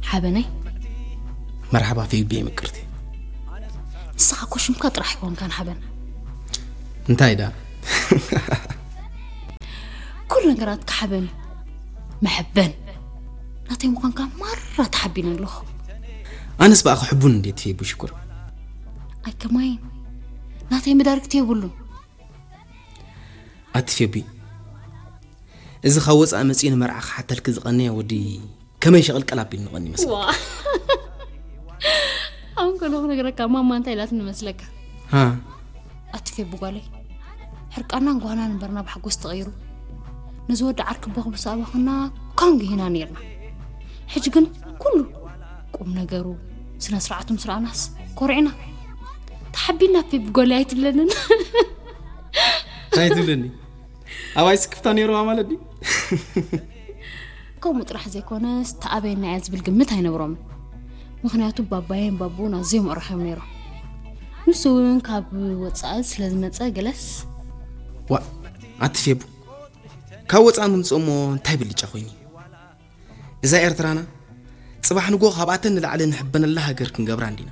ሓበነይ። መርሓባ ፌቢ ምቅርቲ። ንስኻ እኮ ሽምካ ጥራሕ ኣይኮንካን ሓበን። እንታይ ዳ? ኩሉ ነገራትካ ሓበን እዩ። መሐበን ናተይ ምዃንካ ማራ ተሓቢነ ኣለኹ። ኣነስ ብኣኺ ሕቡን እንዴት ፌቢ ሽኩር። ኣይከማይን ናተይ መዳርግቲ የብሉን። ኣቲ ፌቢ፣ እዚ ካብ ወፃኢ መፂኡ ንመርዓ ክሓተልኪ ዝቐነየ ወዲ ከመይ ሸቕልቀል ኣቢሉ ንቐኒ መስል። ዋ ኣሁን ከለኹ ነገረካ ማማ እንታይ ኢላትኒ መስለካ? ሃ ኣቲ ፌቢ ጓለይ፣ ሕርቃናን ጓህናን ንበርና ብሓጎስ ተቐይሩ፣ ነዚ ወዲ ዓርኪ ቦኽ ምስ ኣበኽና ኮንግ ሂና ነርና። ሕጂ ግን ኩሉ ቁም ነገሩ፣ ስነ ስርዓቱ ምስ ረኣናስ ኮሪዕና። ተሓቢና ፌቢ ጓለይ ኣይትብለንን። እንታይ ትብለኒ? ኣባይ ስክፍታ ነይርዋ ማለት ድዩ? ከምኡ ጥራሕ ዘይኮነስ ተኣበየና እያ ዝብል ግምት ኣይነብሮምን። ምኽንያቱ ባባየን ባቡን ኣዝዮም ኣዕሩኽ እዮም ነይሮም። ንሱ እውን ካብ ወፃኢ ስለ ዝመፀ ገለስ ዋ ኣቲ ፌቡ፣ ካብ ወፃኢ ምምፅእ እሞ እንታይ ብልጫ ኮይኑ? እዛ ኤርትራና ፅባሕ ንጎ ካብኣተን ንላዕሊ ንሕበነላ ሃገር ክንገብራ እንዲና።